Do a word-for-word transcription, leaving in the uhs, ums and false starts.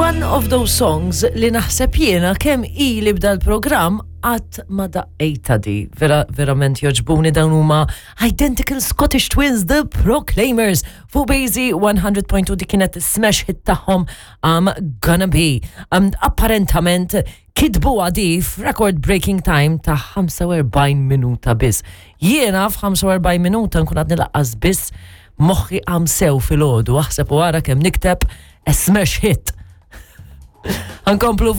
One of those songs li naħseb jiena kemm ili bda l-programm qatt ma daqqejta di. Vera, verament jogħġbuni. Dawn huma Identical Scottish Twins, The Proclaimers. Fuq Bejzi one hundred point two, di kienet smash hit tagħhom, I'm Gonna Be. Um, apparentament kitbu għadi f'record breaking time ta' ħamsa u erbgħin minuta biss. Jiena f'ħamsa u erbgħin minuta nkun għadni lanqas biss moħħi għam sew filgħodu, aħseb u ara kemm nikteb a smash hit. Ħa nkomplu.